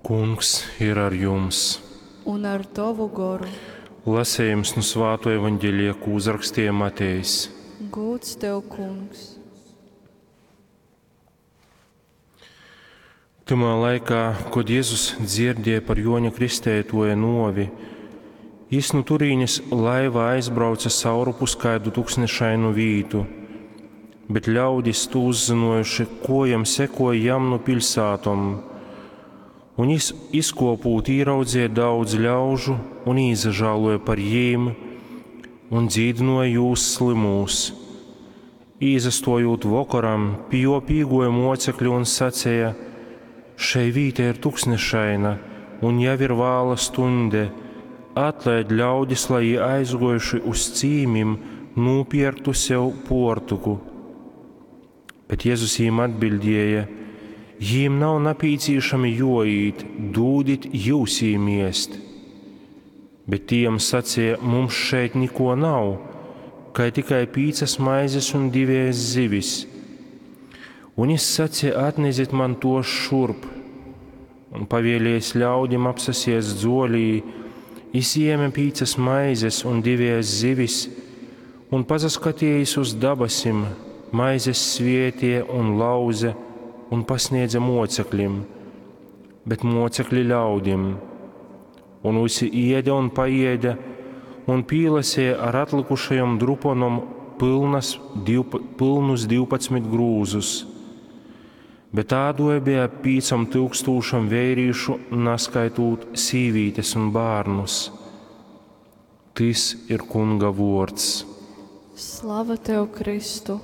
Kungs ir ar jums! Un ar tovu goru. Lasējums nu Svāto evaņģelija, ko uzrakstīja Matejs. Gūds tev, Kungs! Tymā laikā, kod Jezus dzirdēja par Joņa Kristētoja novi, jis nu turīnes laivā aizbrauca saurupus kaidu tuksnešainu vītu, bet ļaudis tū uzzinojuši, kojam sekoja jam nu piļsātom. Un jis izkopūt īraudzīja daudz ļaužu un īsažāloja par jīm un dzīdinoja jūs slimūs. Īsastojūt vokoram, pie jo pīgoja mocekļi un sacēja: Šei vīta ir tuksnešaina, un jau ir vāla stunde. Atlaid ļaudis, lai jī aizgojuši uz cīmim, nopirktu sev portuku. Bet Jēzus jīm atbildēja: Jīm nav napīcīšami joīt, dūdit jūs jīm iest. Bet tiem sacīja: Mums šeit niko nav, kai tikai pīcas maizes un divējas zivis. Un jis sacīja: Atnezit man tos šurp. Un pavēlējis ļaudim apsasies dzolī, jis ieme pīcas maizes un divējas zivis, un pasaskatījis uz dabasim, maizes svietie un lauze un pasniedza mocekļim, bet mocekļi ļaudim. Un visi ieda un paieda, un pīlasēja ar atlikušajom druponom pilnas, divpa, pilnus 12 grūzus. Bet ādoja bija ap 5000 vērīšu, naskaitot sīvītes un bērnus. Tis ir Kunga vords. Slava tev, Kristu!